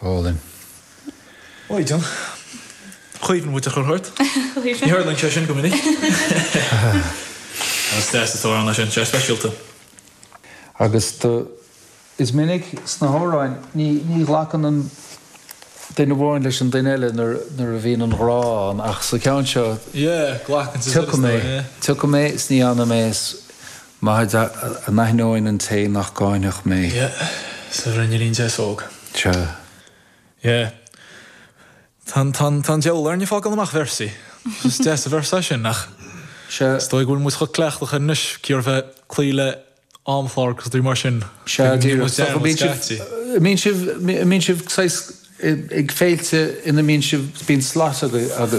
Álainn. Oi, John. Chuimhnigh muid a chur thart. Ní tharlaíonn sé sin go minic. Is deas an t-amhrán é sin, sé speisialta. Agus do, is minic sna hamhráin, ní, ní ghlacann an duine amháin leis an duine eile nuair, nuair a bhíonn an ghrá ann ach sa cheann seo, Yeah, glacann siad tiocfaidh mé, tiocfaidh mé is ní fhanfaidh mé is maith a n-aithneoinn an té nach gcáinfeadh mé. Yeah, sa bhruinneallín deas óg. Sea. Yeah. Tá an, tá an, tá an diabhal orainn ag fágáil amach véarsaí. Is deas an véarsa é sin ach Sea. is dóigh go bhfuil muid chomh cleachtach air anois, cíor bheith cloí le amchlár agus rudaí mar sin. Sea, díreach. Is dócha, bíonn sibh, mbíonn sibh, mbíonn sibh saghas ag féilte ina mbíonn sibh, bíonn slot agaibh.